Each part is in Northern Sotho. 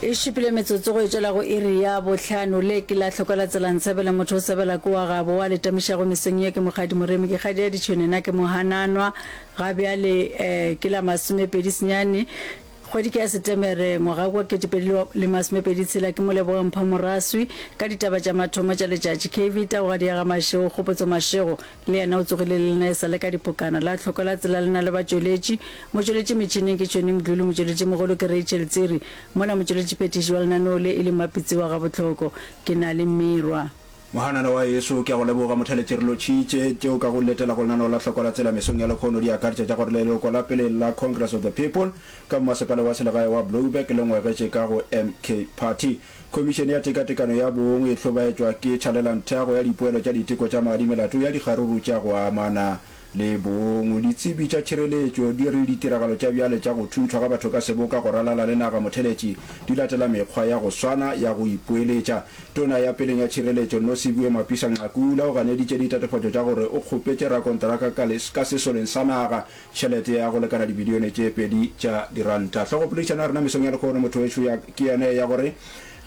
E šupile metsotso go e tšwela go iri ya bohlano. Le ke la hloka la tsela ntshebela motho o sebela ke wa gabo wa le tamišago mesong ye ke Mokgadi Moremi ke kgadi ya ditšhwene na ke mohananwa ga bjale eh, ke la masomepedi senyane kgwedi ke ya Setemere ngwaga wa 2026 ke Moleboge Mpho Moraswi ka ditaba tša mathomo tša letšatši KV Taugadi ya ga Mashego Kgopotso Mashego Le yena o tsogile le lena e sa le ka dipokana. La hloko la tsela le na le batšweletši. Motšweletši metšhineng ke Tšhweni Mdluli, motšweletšimogolo ke Rachel Tsiri, mola motšweletšiphethiši wa lenaneo le e le Mmapitsi wa Gabohloko. Ke na le Mirwa. Mohanana wa Yesu, ke a go leboga motheletši re lotšhitše. Tšeo ka go letela go lenaneo la Hloko la Tsela mesong ya lekhono di akaretša tša gore leloko la pele la Congress of the People ka mmasepala wa selegae wa Blouberg le ngwegetše ka go MK Party. Khomišene ya Tekatekano ya Bong e hlobaetšwa ke tšhalelanthego ya dipoelo tša diteko tša madi melato ya dikgaruru tša go amana le bong. Ditsebi tša tšhireletšo di re ditiragalo tša bjale tša go thuntšhwa ga batho ka seboka go ralala le naga motheletši di latela mekgwa ya go swana ya go ipoeletša. Tona ya peleng ya Tšhireletšo, Nosiviwe Mapisa-Nqakula o ganeditše ditatofatšo tša gore o kgopetše rakonteraka ka sesoleng sa naga Tšhelete ya go lekana dibilione tše pedi tša diranta. Hlogopoledišano ya rena mesong ya lehono motho wešo ya ke yona ya gore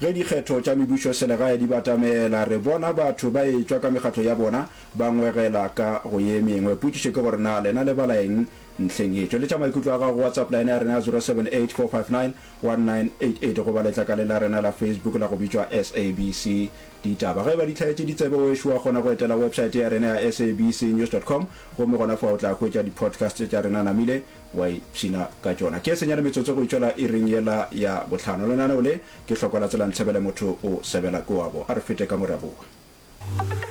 ge dikgetho tša mebušo selegae di batamela, re bona batho ba etšwa ka mekgatlo ya bona ba ngwegela ka go ye mengwe. Potšišo ke gore na lena le bala eng ntlheng ye? Tšweletša maikutlo a gago go WhatsApp line ya rena ya 0784591988 goba letlakaleng la rena la Facebook la go bitšwa SABC Ditaba. Ge e ba di hlaetše ditsebe wešo wa kgona go etela website ya rena ya sabcnews dot com gomme gona fao o tla hwetša di-podcast tša rena namile wa ipshina ka tšona. Ke senyane metsotso go itšwela iring yela ya bohlano. Lenaneo le ke hlokwa la tsela ntshebele motho o sebela ke wabo. A re fete ka mo re a boa.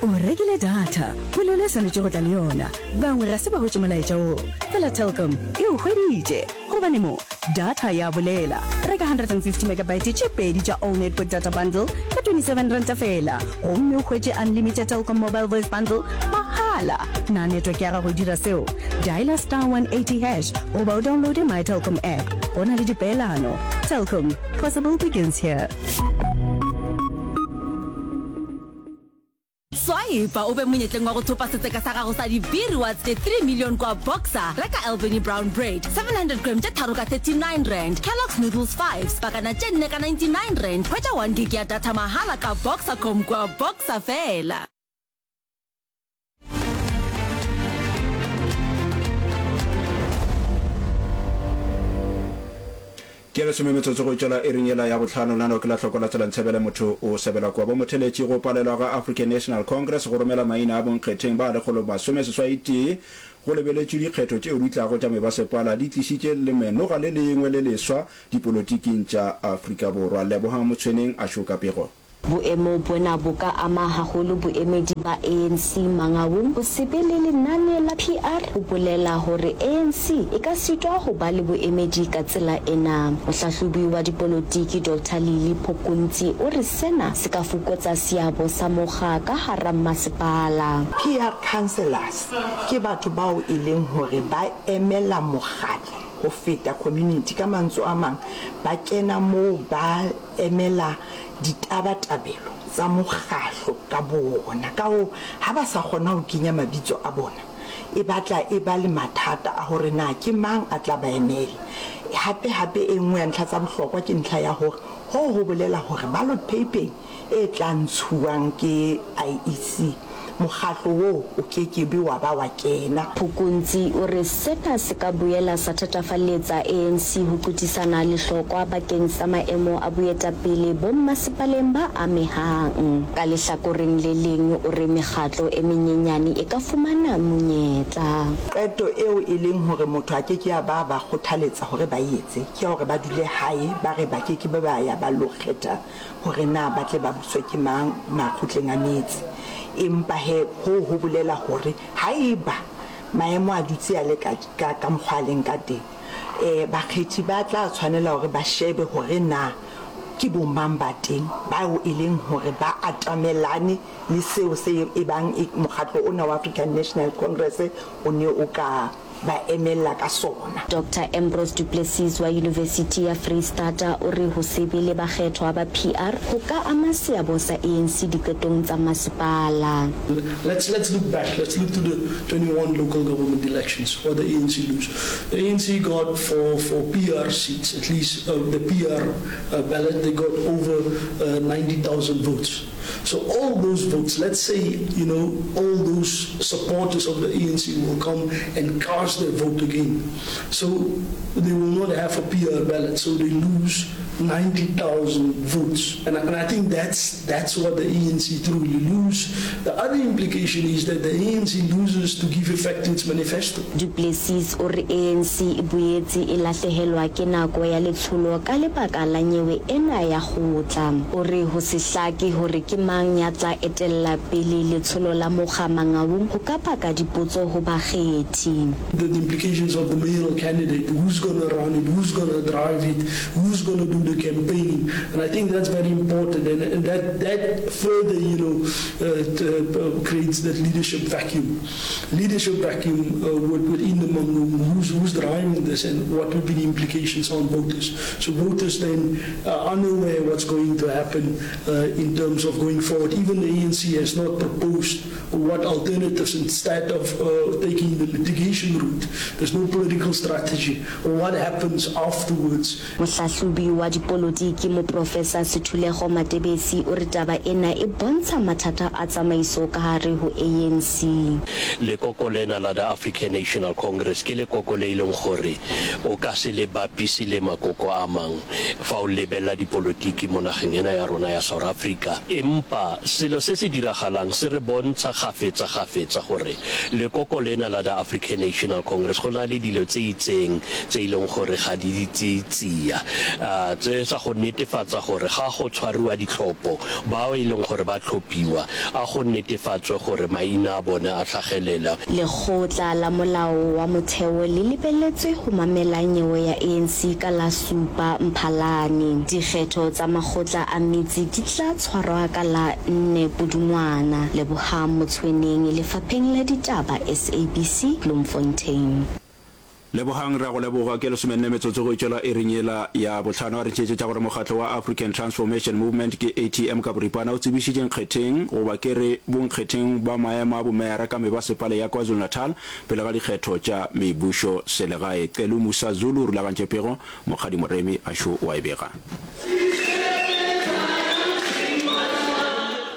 O rekile data, polelo e swanetše go tla le yona. Bangwe ga se ba hwetše molaetša wo, fela Telkom e o hweditše. Gobane mo, data ya bolela. Reka 150 megabyte tše pedi tša All Network Data Bundle ka 27 ranta feela gomme o hwetše Unlimited Telkom Mobile Voice Bundle mahala. Na network ya gago e dira seo? Dialer star 180 hash goba o downloade My Telkom app. Go na le dipeelano. Telkom, possible begins here. Swipa o be monyetleng wa go thopa setseka sa gago sa di-B-Rewards tše 3 million kwa Boxer. Reka Albany Brown Bread 700 gram tše tharo ka R39, Kellogg's Noodles Fives pakana tše nne ka R99. Hwetša 1 gig ya data mahala ka Boxercom kwa Boxer fela. Ke ya lesome metsotso go tšwela iring yela ya bohlano nano ke la hloko la tsela ntshebele motho o sebela kua bo motheletši go palelwa ga African National Congress go romela maina a bonkgetheng ba lekgolo masomeseswai tee go lebeletšwe dikgetho tšeo di tlago tša mebasepala di tlišitše lemenoga le lengwe le leswa dipolotiking tša Afrika Borwa. Lebohang Motshweneng a šo ka pego. Boemo bona bo ka ama haholo boemedi ba ANC Mangaung. Ho se be le lenane la PR ho bolela hore ANC e ka sitwa ho ba le boemedi ka tsela ena. Mohlahlobi wa dipolotiki Doctor Lily Phokontsi o re sena se ka fokotsa seabo sa mokga ka hara mmasepala. PR councillors ke batho bao e leng hore ba emela mokgatlo ho feta community. Ka mantswe a mang, ba kena moo ba emela ditabatabelo tsa mokgahlo ka bowona. Ka hoo, ha ba sa kgona ho kenya mabitso a bona, e batla e ba le mathata a hore na ke mang a tla ba emela. Hape, hape e nngwe ya ntlha tsa bohlokwa ke ntlha ya hore hoo ho bolela hore ballot paper-eng e tla ntshuwang ke IEC, mokgahlo woo o ke ke be wa ba wa kena. Phukuntsi o re sena se ka boela sa thatafaletsa ANC ho qotisana lehlokwa bakeng sa maemo a boetapele bommasepaleng ba amehang. Ka lehlakoreng le leng o re mekgatlo e menyenyane e ka fumana monyetla. Qeto eo e leng hore motho a ke ke a ba ba kgothaletsa hore ba e etse ke ya hore ba dule hae ba re ba ke ke be ba ya ba lo kgetha hore na ba tle ba buswe ke mang makgotleng a metse. Empa he, hoo ho bolela hore haeba maemo a dutse a le ka, ka, ka mokgwa a leng ka teng, eh, bakgethi ba tla tshwanela hore ba shebe hore na ke bo mang ba teng bao e leng hore ba atamelane le seo se e bang e, mokgatlo ona wa African National Congress o ne o ka. ba emella ka sona. Doctor Ambrose Du Plessis wa Yunibesithi ya Freistata o re ho se be le bakgethwa ba PR ho ka ama seabo sa ANC diqetong tsa masepala. Let's let's look back, let's look to the 21 local government elections, what the ANC lose. The ANC got for for PR seats, at least uh, the PR uh, ballot, they got over uh, 90,000 votes. So all those votes, let's say, you know, all those supporters of the ANC will come and cast their vote again. So they will not have a PR ballot, so they lose 90,000 votes. And, and I think that's, that's what the ANC truly lose. The other implication is that the ANC loses to give effect to its manifesto. Du Plessis o re ANC e boetse e lahlehelwa ke nako ya letsholo ka lebaka la nyewe ena ya kgotla. O re ho se hlake hore ke mang ya tla etella pele letsholo la mokga Mangaung ho ka baka dipotso ho bakgethi. The implications of the mayoral candidate, who's gonna run it, who's gonna drive it, who's gonna do the campaigning, and I think that's very important, and, and that, that further, you know, uh, uh, creates that leadership vacuum. Leadership vacuum uh, within the Mangaung, who's, who's driving this and what would be the implications on voters. So voters then are unaware what's going to happen uh, in terms of going forward. Even the ANC has not proposed what alternatives instead of uh, taking the litigation route. There's no political strategy or what happens afterwards. Mohlahlobi wa dipolotiki Moprofesa Sethulego Matebesi o re taba ena e bontsha mathata a tsamaiso ka hare ho ANC. Lekoko lena la The African National Congress ke lekoko le e leng gore o ka se le bapise le makoko a mang fa o lebelela dipolotiki mo nageng ena ya rona ya South Africa. Empa selo se se diragalang se re bontsha gafetsa-gafetsa gore lekoko lena la The African National Congress go na le dilo tse itseng tse e leng gore ga di di tseye tsia, tse tsa go netefatsa gore ga go tshwariwa ditlhopho bao e leng gore ba tlhophiwa a go netefatswe gore maina a bone a tlhagelela. Lekgotla la Molao wa Motheo le lebeletswe ho mamela nyewe ya ANC ka la supa Mphalane. Dikgetho tsa makgotla a metse di tla tshwarwa ka la nne Pudungwana. Lebohang Motshweneng, Lefapheng la Ditaba, SABC, Bloemfontein. Lebogang, Re a go leboga. Ke lesomenne metsotso go itšwela iring yela ya bohlano. A re tšeetše tša gore mokgatlo wa African Transformation Movement ke ATM ka boripana o tsebišitše nkgetheng goba ke re bonkgetheng ba maemo a bomeyara ka mebasepale ya KwaZulu-Natal pele ga dikgetho tša mebušo selegae. Celu Musa Zulu o rulagantše pego, Mokgadi Moremi a šo o a e bega.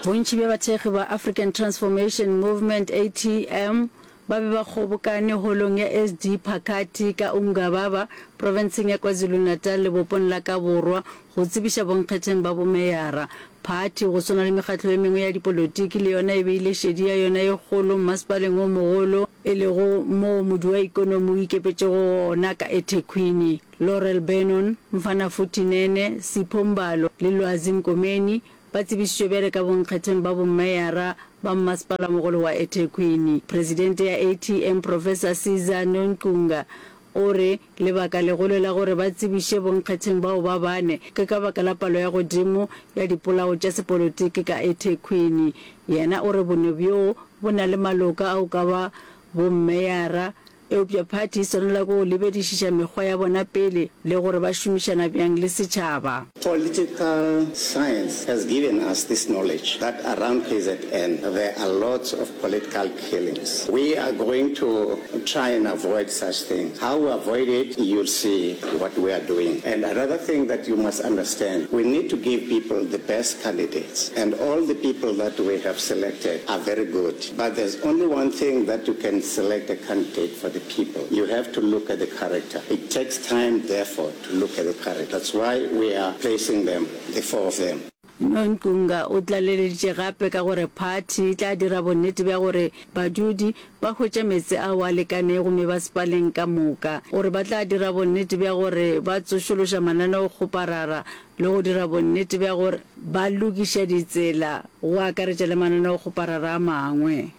Bontši bja bathekgi ba African Transformation Movement, ATM, Ba be ba kgobokane holong ya SD Phakathi ka Umgababa, profenseng ya KwaZulu-Natal lebopong la ka borwa, go tsebiša bonkgetheng ba bomeyara. Phathi, go swana le mekgatlo e mengwe ya dipolotiki, le yona e beile šedi ya yona e kgolo mmasepaleng o mogolo, e lego moo modu wa ikonomi o ikepetšego gona ka eThekwini. Laurel Benon, Mfanafuthi Nene, Sipho Mbalo le Lwazi Nkomeni Ba tsebišitšwe bjale ka bonkgetheng ba bommeyara ba Mmasepalamogolo wa eThekwini. Presidente ya ATM Professor Caesar Nonxunga o re lebaka legolo la gore ba tsebiše bonkgetheng bao ba bane ke ka baka la palo ya godimo ya dipolao tša sepolotiki ka eThekwini. Yena o re bone bjoo bo na le maloka ao ka ba bommeyara Eupša phathi e swanela ke go lebedišiša mekgwa ya bona pele le gore ba šomišana bjang le setšhaba. Political science has given us this knowledge that around KZN there are lots of political killings. We are going to try and avoid such things. How we avoid it, you'll see what we are doing. And another thing that you must understand, we need to give people the best candidates. And all the people that we have selected are very good. But there's only one thing that you can select a candidate for the people. You have to look at the character. It takes time, therefore, to look at the character. That's why we are placing them, the four of them. Nonkunga o tlaleleditše gape ka gore phathi e tla dira bonnete bja gore badudi ba hwetša meetse ao a lekanego mebasepaleng ka moka. O re ba tla dira bonnete bja gore ba tsošološa mananeokgoparara le go dira bonnete bja gore ba lokiša ditsela go akaretša le mananeokgoparara a mangwe.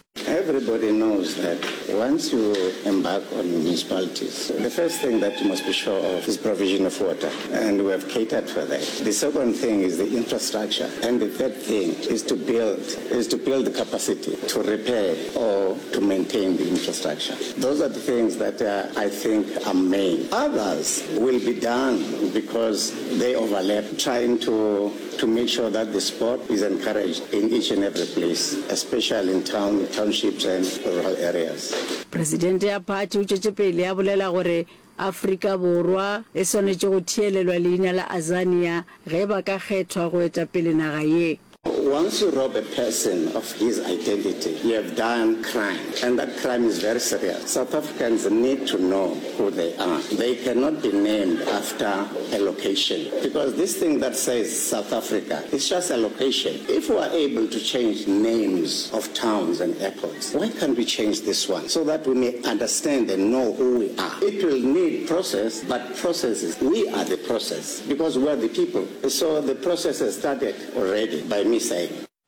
Everybody knows that once you embark on municipalities, the first thing that you must be sure of is provision of water, and we have catered for that. The second thing is the infrastructure, and the third thing is to build, is to build the capacity to repair or to maintain the infrastructure. Those are the things that uh, I think are main. Others will be done because they overlap, trying to to make sure that the sport is encouraged in each and every place, especially in town, townships and rural areas. Presidente ya phathi o tšwetše pele a bolela gore Afrika Borwa e swanetše go theelelwa leina la Azania ge ba ka kgethwa go eta pele naga ye. Once you rob a person of his identity, you have done crime, and that crime is very serious. South Africans need to know who they are. They cannot be named after a location, because this thing that says South Africa is just a location. If we are able to change names of towns and airports, why can't we change this one so that we may understand and know who we are? It will need process, but processes, we are the process, because we are the people. So the process has started already by me saying.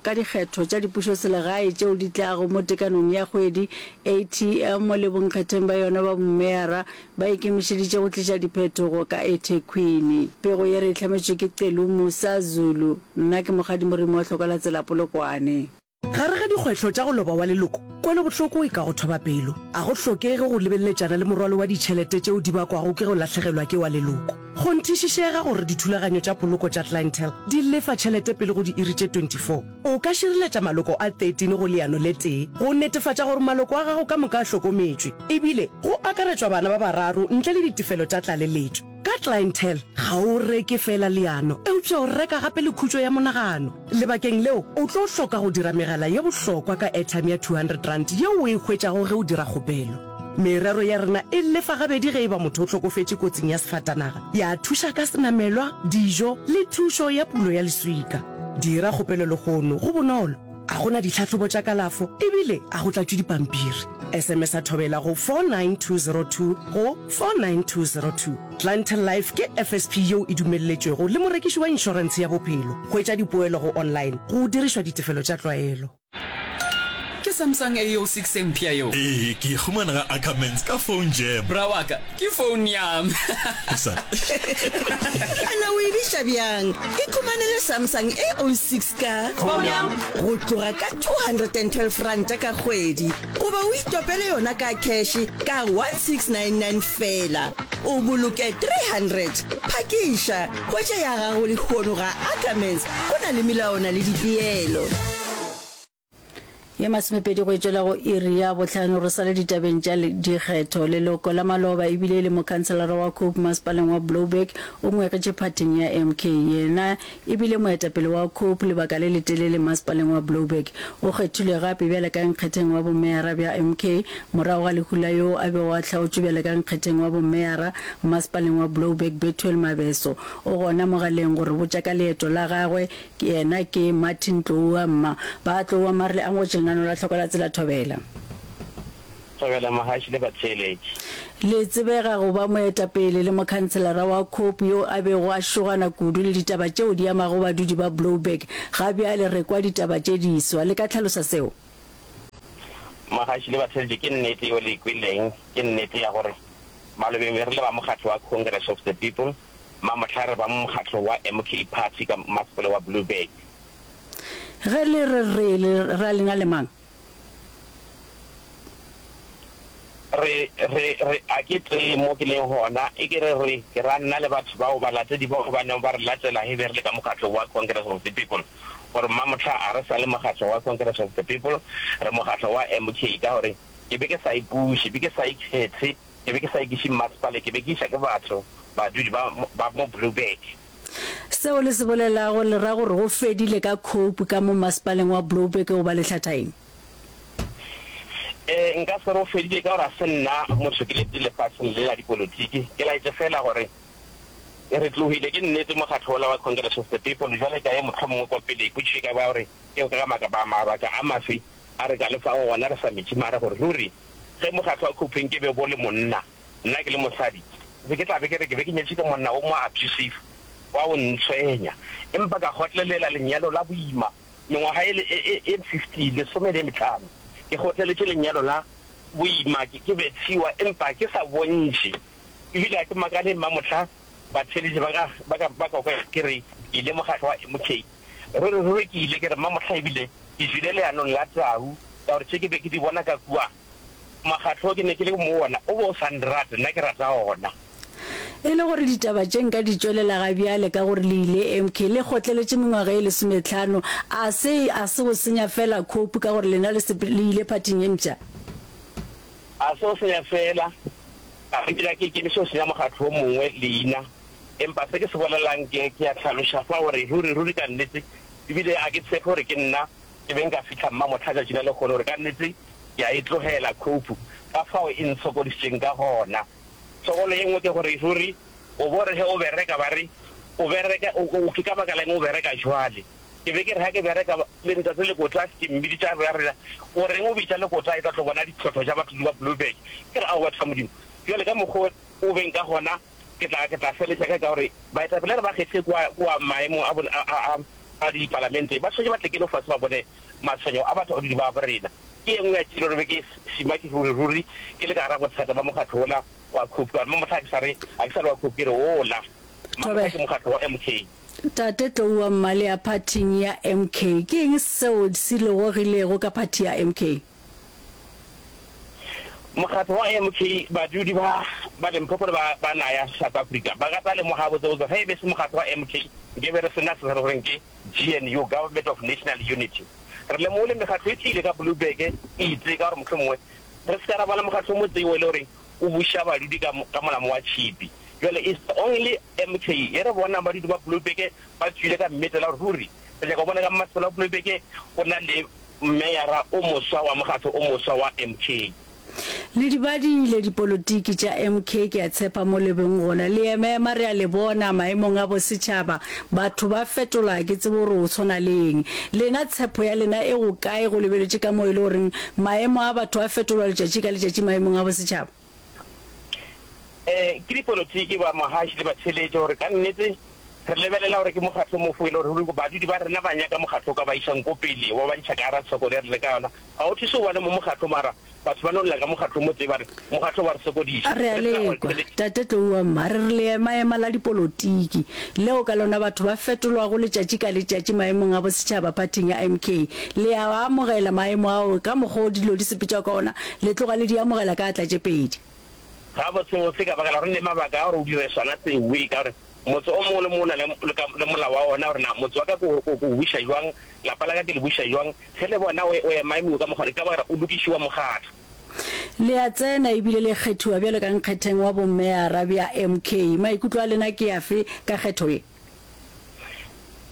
Ka dikgetho tša dipušoselegae tšeo di tlago mo tekanong ya kgwedi, ATM le bonkgetheng ba yona ba bommeyara ba ikemišeditše go tliša diphetogo ka eThekwini. Pego ye re e hlametšwe ke Celu Musa Zulu. Nna ke Mokgadi Moremi wa Hlokolatsela Polokwane. Gare ga dikgwetlho tša go loba wa leloko, kwelobohloko e ka go thoba pelo. A go hlokege go lebeletšana le morwalo wa ditšhelete tšeo di bakwago ke go lahlegelwa ke wa leloko. Kgonthišišega gore dithulaganyo tša poloko tša Clientele di lefa tšhelete pele go diiri tše 24. O ka šireletša maloko a 13 go leano le tee go netefatša gore maloko a gago ka moka a hlokometšwe, ebile go akaretšwa bana ba bararo ntle le ditefelo tša tlaleletšo. Ka Clientele, ga o reke feela leano, eupša o reka gape le khutšo ya monagano. Lebakeng leo, o tlo hloka go dira megala ye bohlokwa ka airtime ya R200 yeo o e hwetšago ge o dira kgopelo. Merero ya rena e lefa gabedi ge e ba motho o hlokofetše kotsing ya sefatanaga, ya thuša ka senamelwa, dijo le thušo ya pulo ya leswika. Dira kgopelo lehono, go bonolo, ga go na ditlhahlobo tša kalafo ebile ga go tlatšwe dipampiri. SMS-a Thobela go 49202 go 49202. Clientele Life ke FSP yeo e dumelletšwego le morekiši wa inšorentshe ya bophelo. Hwetša dipoelo go online go dirišwa ditefelo tša tlwaelo. Ke Samsung A06 e mpsha yeo. Ee, ke e humana ga Ackermans ka phone jam. Bra wa ka, ke phone ya me. Ana o e biša bjang? Ikhumanele Samsung A06 ka Phone ya me. go tloga ka R212 ka kgwedi goba o itopele yona ka cash ka 1699 feela. O boloke 300. Phakiša, hwetša ya gago lehono ga Ackermans, go na le melawana le dipeelo. Ye masomepedi go e tšwela go iri ya bohlano re sa le ditabeng tša dikgetho. Leloko la maloba ebile e le mokhanselara wa Cope masepaleng wa Blouberg o ngwegetše phathing ya MK. Yena e bile moetapele wa Cope lebaka le letelele masepaleng wa Blouberg. O kgethilwe gape bjale ka nkgetheng wa bomeyara bja MK morago ga lehu la yoo a bego a hlaotšwe bjale ka nkgetheng wa bomeyara masepaleng wa Blouberg Bethuel Mabeso. O gona mogaleng go re botša ka leeto la gagwe Ke yena ke Martin Tlouwa mma. Ba Tlouwa mare le angotše lenaneo la Tlhoko la Tsela Thobela. Thobela mohaši le batheeletši. Le tsebega go ba moetapele le mokhanselara wa Cope yo a bego a šogana kudu le ditaba tšeo di amago badudi ba Blouberg. Ga bjale re kwa ditaba tše diswa. Le ka hlalosa seo? Mohaši le batheeletši, ke nnete yeo le e kweleng. Ke nnete ya gore malobeng be re le ba mokgatlo wa Congress of the People. Mamohlare ba mokgatlo wa MK Party ka masepala wa Blouberg. Ge le re re, le ra lena le mang? Re, re, re, a ke tsee mo ke leng gona, e ke re re, ke ra nna le batho bao, balatedi bao ba neng ba re latela ge be re le ka mokgatlo wa Congress of the People, gore mamohla a re sa le mokgatlo wa Congress of the People, re mokgatlo wa MK, ka gore ke be ke sa ipuše, be ke sa ikgethe. Ke be ke sa ekiše mmasepale, ke be ke iša ke batho, badudi ba, ba mo Blouberg. Seo le se bolelago le ra gore go fedile ka Cope ka mo mmasepaleng wa Blouberg goba le hlatha eng? Ee, nka se re go fedile ka gore ga se nna motho ke le lefaseng le la dipolotiki. Ke laetše feela gore re tlogile. Ke nnete mokgatlo wola wa Congress of the People jwale ka ye mohlomongwe kwa pele ipotšišo e ka ba gore ke ka mabaka a mafe a re ka lefago gona re sa metše mare gore ruri Ge mokgatlo wa Cope nke be bo le monna, nna ke le mosadi, be ke tla be ke re ke be ke nyetše ke monna o mo abusive, wa go ntshwenya. Empa ka kgotlelela lenyalo la boima mengwaga e, e, e, e 50, lesome le metlhano. Ke kgotleletše lenyalo la boima, ke, ke bethsiwa, empa ke sa bontšhe. Ebile ga ke makale mmamohla batheeletši ba ka, ba ka, ba ka kwa ke re ke ile mokgatlo wa MK. Ruri, ruri ke ile ke re mmamohla ebile ke tšwile leanong la tau, ka gore tše ke be ke di bona ka kua mokgatlo ke ne ke le mo wona o be o sa nrate, nna ke rata ona. E le gore ditaba tše nka di tšwelela ga bjale ka gore le ile MK le kgotleletše mengwaga ye lesometlhano, a se, a se go senya feela Cope ka gore lena le sepele, le ile phathing ye mpsha? A se go senya feela, ga ke dira ke ikemiše go senya mokgatlo wo mongwe leina, empa se ke se bolelang ke, ke a hlaloša fa gore ruri, ruri ka nnete, ebile a ke tshepe gore ke nna ke be nka fihla mmamohla tšatši la lehono gore ka nnete ke a e tlogela Cope ka fao e ntshokodišitšeng ka gona. Tshokolo ye nngwe ke gore ruri o bo re ge o bereka ba re o bereka o, o, ke ka baka la eng o bereka jwale. Ke be ke re ga ke bereka le ntate Lekotla ke mmiditše a re a re o reng o bitša Lekotla e tla tlo bona ditlhohlo tša batho ba Blouberg. Ke re aowa batho ba Modimo bjale ka mokgwa o beng ka gona ke tla ke tla feletša ka ka gore baetapele re ba kgethile kua kua maemong a, a, a, a dipalamente ba swanetše ba tle keno fase ba bone matshwenyego a batho ba badudi ba borena. Ke ye nngwe ya tše le gore be ke šima ke ruri ruri ke le ka gara bothata ba mokgatlo wola wa Cope. Ka gore mo mohla ga ke sa re ga ke sa re wa Cope ke re wola Thobela. ke mokgatlo wa MK. Tate Tlou wa Mmalea phathing ya MK. Ke eng seo se le gogilego ka phathi ya MK? Mokgatlo wa MK, badudi ba ba Limpopo le ba ba naga ya South Africa ba ka tla lemoga gabotsebotse ge e be se mokgatlo wa MK nke be re se na se re goreng ke GNU, Government of National Unity. Re lemogile mekgatlo e tlile ka Blouberg e itse ka gore mohlomongwe re se ka ra bona mokgatlo o motee wo e le gore o buša badudi ka ka molamo wa tšhipi. Bjale it's the only MK ye re bonang badudi ba Blouberg ba tšwile ka mmete la gore ruri re nyaka go bona ka mmasepala wa Blouberg o na le meyara o moswa wa mokgatlo o moswa wa MK. Le di badile dipolotiki tša MK, ke a tshepa mo le beng gona. Le ema-ema re a le bona maemong a bosetšhaba. Batho ba fetola ga ke tsebe gore o tshwana le eng. Lena tshepo ya lena e go kae go lebeletše ka moo e le goreng maemo a batho a fetolwa letšatši ka letšatši maemong a bosetšhaba? Ee, ke dipolotiki ba mohaši le batheeletši gore ka nnete re lebelela gore ke mokgatlo mofo e le gore ruri badudi ba rena ba nyaka mokgatlo o ka ba išang ko pele wa ba ntšha ka gara tshokolo e re le ka yona. Ga o thuse go ba le mo mokgatlo mara batho ba no lla ka mokgatlo mo tee ba re mokgatlo wa re sokodiša. Re a Re se na le kwa, Tate Tlou wa mma, re re leemaema la dipolotiki leo ka lona batho ba fetolwago letšatši ka letšatši maemong a bosetšhaba phathing ya MK. Le a a amogela maemo ao ka mokgwa o dilo di sepetšago ka ona, le tloga le di amogela ka atla tše pedi. Gabotsebotse ka baka la gore ne mabaka a gore o dire sona sewe, ka gore motse o mongwe le mongwe o na le, le, le molao wa ona gore na motse wa ka ke o, ke o buša jwang, lapa la ka ke le buša jwang. Ge le bona o, o emaemiwe ka mokgwa, ka baka la o lokišiwa mokgatlo. Le a tsena ebile le kgethiwa bjalo ka nkgetheng wa bomeyara bja MK. Maikutlo a lena ke afe ka kgetho ye?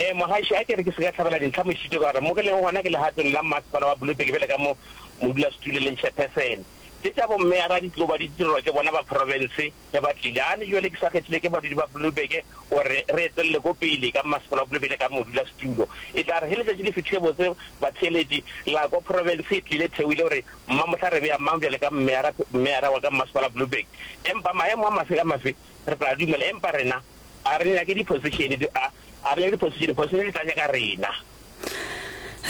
Ee, mogaši, a ke re ke se ka hlabela dintlha mošito ka gore mo ke lego gona ke legatong la mmasepala wa Blouberg bjale ka mo modulasetulo e leng chairperson. Tše tša bommeyara di tlo ba di dirwa ke bona ba profense ge ba tlile. Gane bjale ke sa kgethile ke badudi ba Blouberg gore re etelle ko pele ka mmasepala wa Blouberg ka modulasetulo. E tla re ge letšatši le fihlile botse batheeletši la kwa profense e tlile theohile gore mmamohla re bea mang bjale ka mmeyara, mmeyara wa ka mmasepala wa Blouberg. Empa maemo a mafe ka mafe re tla dumela empa rena A re nyake di-position, a, a re nyake di-position, position di tla nyaka rena.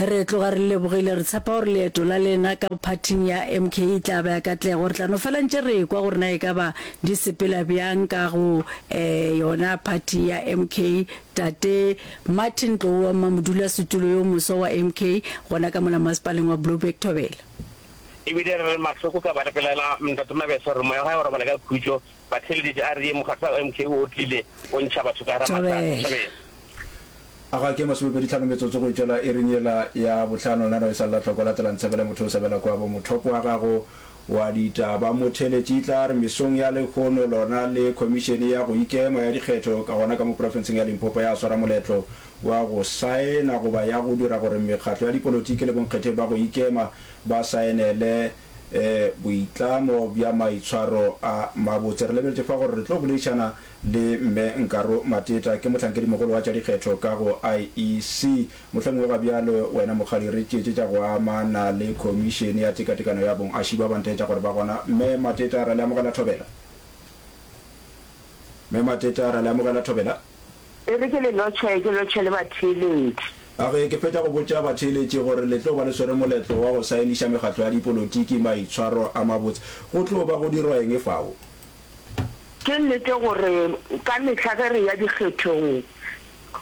Re tloga re lebogile. Re tshepa gore leeto la lena ka phathing ya MK e tla ba ya katlego. Re tla no fela ntše re ekwa gore na e ka ba di sepela bjang ka go yona phathi ya MK. Tate Martin Tlou wa Mmamodulasetulo yo moswa wa MK gona ka mola masepaleng wa Blouberg Thobela. Ebile re re mahloko ka ba re pelaela Ntate Mabeso gore moya wa gae o robale ka khutšo. Batheeletši a re ye mokgatlo wa MK o tlile o ntšha batho ka gara mathata. Thobela. A ga ke masomepeditlhano metsotso go itšwela iring yela ya bohlano lenaneo e sa lela hloko latela ntshebele motho o sebela kwa bo mothopo wa gago wa ditaba motheeletši e tla re mesong ya lehono lona le khomišene ya go ikema ya dikgetho ka gona ka mo profenseng ya Limpopo ya swara moletlo wa go saena goba ya go dira gore mekgatlo ya dipolotiki le bonkgetheng ba go ikema ba saenele Boitlamo bja maitshwaro a mabotse. Re lebeletše fa gore re tlo boledišana le Mme Nkaro Mateta, ke mohlankedimogolo wa tša dikgetho ka go IEC. Mohlomongwe ga bjalo wena mokgadi re tšeetše tša go amana le Khomišene ya Tekatekano ya Bong. A šiba ba ntaetša gore ba gona. Mme Mateta, ra le amogela thobela. Mme Mateta, ra le amogela thobela. E re ke le lotšhe, ke lotšhe le batheeletši. A Ge ke fetša go botša batheeletši gore le tlo ba le swere moletlo wa go saeniša mekgatlo ya dipolotiki maitshwaro a mabotse, go tlo ba go dirwa eng fao? Ke nnete gore ka mehla ge re eya dikgethong,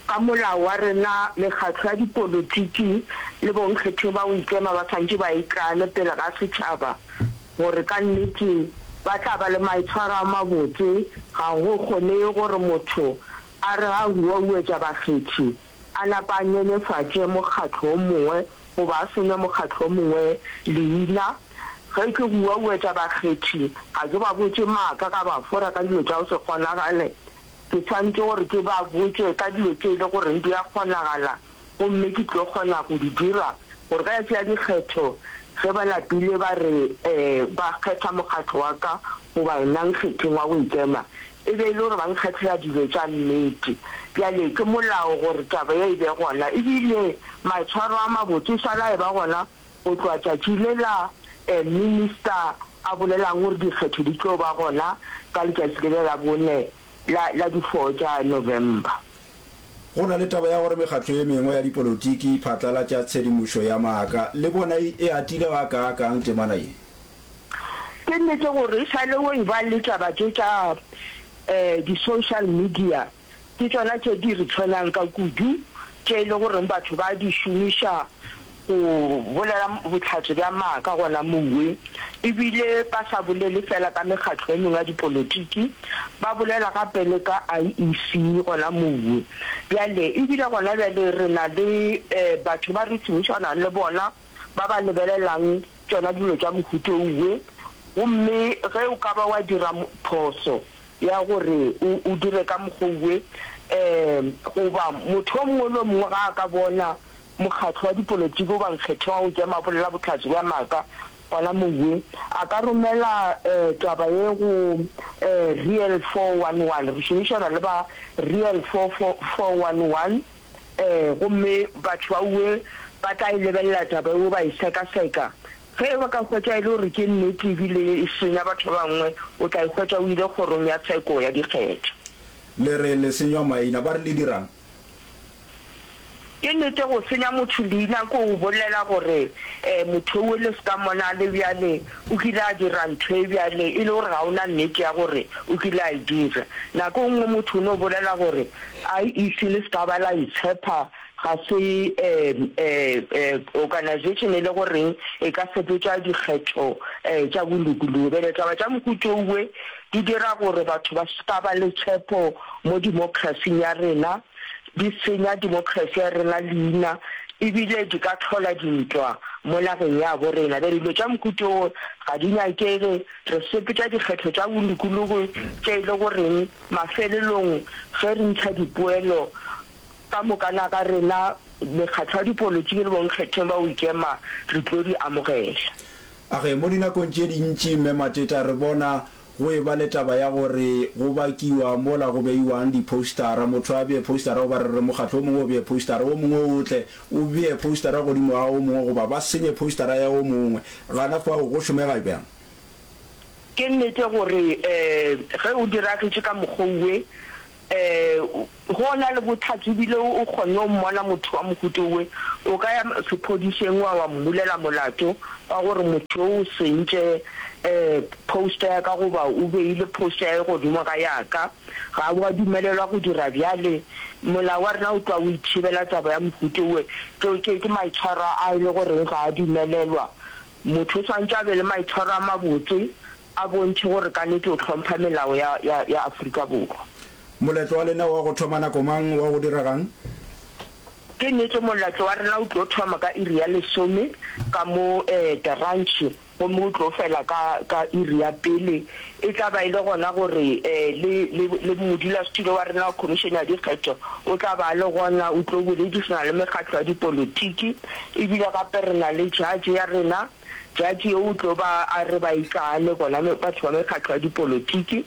ka molao wa rena mekgatlo ya dipolotiki le bonkgetheng ba go ikema ba swanetše ba ikane pele ga setšhaba gore ka nnete ba tla ba le maitshwaro a mabotse. Ga go kgonege gore motho a re ga huauetša bakgethi a napa a nyenyefatše mokgatlo o mongwe goba a senye mokgatlo o mongwe leina. Ge ke huauetša bakgethi, ga ke ba botše maaka ka ba fora ka dilo tša go se kgonagale. Ke swanetše gore ke ba botše ka dilo tše e le goreng di a kgonagala gomme ke tlo kgona go di dira gore ge a tšea dikgetho, ge ba lapile ba re ba kgetha mokgatlo wa ka goba nna nkgetheng wa go ikema, e be e le gore ba nkgethela dilo tša nnete. Bjale ke molao gore taba ye e be gona, e bile maitshwaro a mabotse e sale a eba gona go tloga tšatši lela minister a bolelang gore dikgetho di tlo ba gona ka letšatši lela la bone la la di four tša November. Go na le taba ya gore mekgatlo ye mengwe ya dipolotiki e phatlalatša tshedimošo ya maaka. Le bona e atile gakaakang temana ye? Ke nnete gore e sa le o eba le taba tše tša di-social media, ke tšona tše di re tshwenyang ka kudu, tše e le goreng batho ba di šomiša go bolela bohlatse bja maaka gona mowe. E bile ba sa bolele fela ka mekgatlo e mengwe ya dipolotiki, ba bolela gape le ka IEC gona mowe. Bjale, e bile gona bjale re na le batho ba re šomišanang le bona ba ba lebelelang tšona dilo tša mohuta owe, gomme ge o ka ba wa dira phoso ya gore o, o dire ka mokgwa owe, um goba motho o mongwe le o mongwe ga a ka bona mokgatlo wa dipolotiki goba nkgetho wa go kema bolela bohlatse bja maaka gona mowe, a ka romela um taba ye go um Real 411. Re šomišana le ba Real 411. Ee, gomme batho ba uwe ba tla e lebelela taba yeo ba e sekaseka. Ge ba ka hwetša e le gore ke nnete e bile e senya batho ba bangwe, o tla e hwetša o ile kgorong ya tsheko ya dikgetho. Le re le senywa maina, ba re le dirang? Ke nnete go senya motho leina ke go bolela gore motho owe le se ka mmona a le bjale, o kile a dira ntho e bjale e le gore ga o na nnete ya gore o kile a e dira. Nako e nngwe motho o no bolela gore IEC le se ka ba la itshepa, ga se organization e le goreng e ka sepetša dikgetho tša bolokologi. Bjale taba tša mohuta owe di dira gore batho ba se ka ba le tshepo mo democracy-ing ya rena, di senya democracy ya rena leina ebile di ka hlola dintwa mo nageng ya bo rena. Bjale dilo tša mohuta owe ga di nyakege, re sepetša dikgetho tša bolokologi tše e le goreng Mafelelong, ge re ntšha dipoelo, ka moka na ga rena, mekgatlo ya dipolotiki le bonkgetheng ba go ikema, re tlo di amogela. A Ge mo dinakong tše dintši, Mme Mateta, re bona go eba le taba ya gore go bakiwa mola go beiwang diphoustara, motho a bee phoustara goba re re mokgatlo o mongwe o bee phoustara, o mongwe o tle o bee phoustara godimo ga o mongwe goba ba senye phoustara ya o mongwe, gana fao go šomega bjang? Ke nnete gore ge o diragetše ka mokgwa owe, ge o na le bohlatse ebile o kgonne go mmona motho wa mohuta owe, o ka ya sephodiseng wa wa mmulela molato wa gore motho yo o sentše poster ya ka goba o beile poster ya godimo ga ya ka. Ga wa dumelelwa go dira bjale. Molao wa rena o tloga o ithibela taba ya mohuta owe. Ke ke maitshwaro a e le goreng ga a dumelelwa. Motho o swanetše a be le maitshwaro a mabotse, a bontšhe gore ka nnete o hlompha melao ya, ya, ya Afrika Borwa. Moletlo wa lena wa go thoma nako mang wa go diregang? Ke nnete moletlo wa rena o tlo thoma ka iri ya lesome ka mo The Ranch gomme o tlo fela ka, ka iri ya pele. E tla ba e le gona gore le, le, le modulasetulo wa rena wa Khomišene ya Dikgetho o tla ba a le gona, o tlo boledišana le mekgatlo ya dipolotiki. E bile gape re na le judge ya rena, judge yo o tlo ba a re ba ikane bona batho ba mekgatlo ya dipolotiki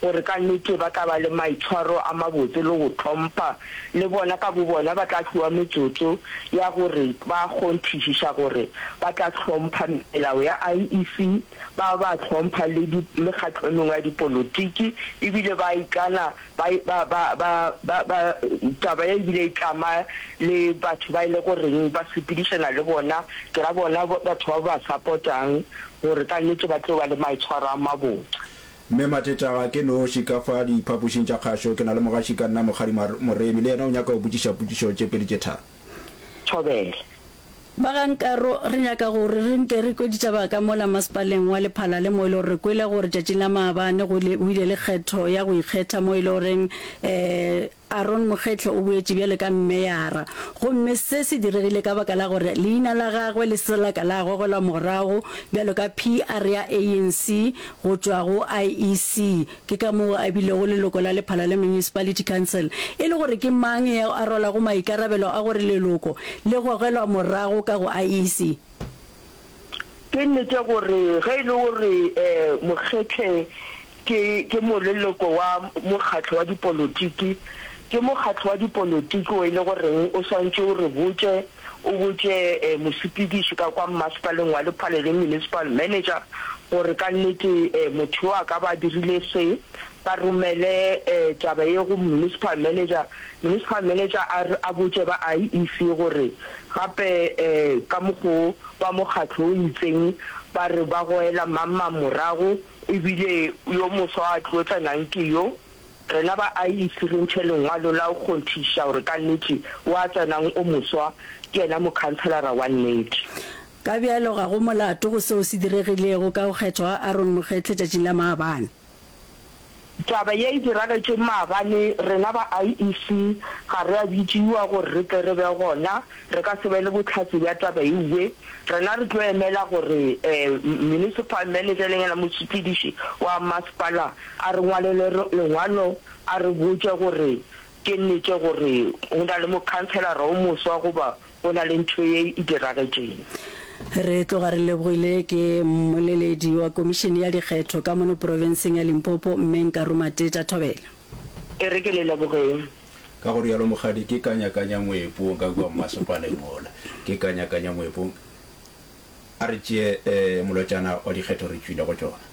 gore ka nnete ba tla ba le maitshwaro a mabotse le go hlompha, le bona ka bobona ba tla fiwa metsotso ya gore ba kgonthišiša gore ba tla hlompha melao ya. IEC ba ba hlompha le di mekgatlo e mengwe ya dipolotiki ebile ba ikana ba ba ba ba ba ba taba ye ebile e tlama le batho ba e le goreng ba sepedišana le bona, ke ra bona batho ba ba sapotang gore ka nnete ba tlo ba le maitshwaro a mabotse. Mme Mateta, Ga ke noši ka fa diphapošing tša kgašo, ke na le mogaši ka nna Mokgadi Moremi, le yena o nyaka go botšiša potšišo tše pedi tše tharo. Thobela. Ba ga Nkaro, re nyaka gore re nke re kwe ditaba ka mola masepaleng wa Lephalale mo e le gore re kwele gore tšatšing la maabane go ile, go ile le kgetho ya go ikgetha mo e le goreng um Aaron Mokgehle o boetše bjalo ka mmeyara gomme se se diregile ka baka la gore leina la gagwe le se la ka la gogelwa morago bjalo ka PR ya ANC go tšwa go IEC. Ke ka moo a bilego leloko la Lephalale Municipality Council. E le gore ke mang yeo a rwalago maikarabelo a gore leloko le gogelwa morago ka go IEC? Ke nnete gore ge e le gore Mokgehle ke ke moleloko wa mokgatlo wa dipolotiki, ke mokgatlo wa dipolotiki o e le goreng o swantše o re botše, o botše mosepediši ka kwa mmasepaleng wa Lephalele, municipal manager, gore ka nnete motho yo a ka ba a dirile se, ba romele taba ye go municipal manager, municipal manager a a botše ba IEC gore gape ka mokgo ba mokgatlo o itseng ba re ba goela mang mang morago. E bile yo moswa a tlo tsenang ke yo. Rena ba IEC re ntšhe lengwalo la go kgonthiša gore ka nnete wo a tsenang o moswa ke yena mokhanselara wa nnete. Ka bjalo ga go molato go seo se diregilego ka go kgethwa ga Aaron Mokgetle tšatšing la maabane. Taba ye e diragetše maabane, rena ba IEC ga re a bitšiwa gore re tle re be gona, re ka se be le bohlatse bja taba eue. Rena re tlo emela gore municipal manager e leng yena mosepediši wa masepala a re ngwalele lengwalo a re botše gore ke nnete gore go na le mokhanselara o moswa goba go na le ntho ye e diragetšeng. Re tloga re lebogile ke mmoleledi wa Komišene ya Dikgetho ka mono profenseng ya Limpopo, Mme Nkaru Mateta Thobela. E re ke le lebogeng. Ka go rialo Mokgadi ke kanyakanya moepong ka kua mmasepaleng wola. Ke kanyakanya moepong. A re tšee molotšana wa dikgetho re tšwile go tšona.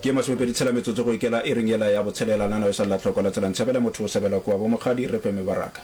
Ke masomepedi tshela metsotso go ikela iring yela ya botshelela. Nana o sa lla hloko la tsela ntshebele motho o sebela kua bo Mokgadi re fe mebaraka.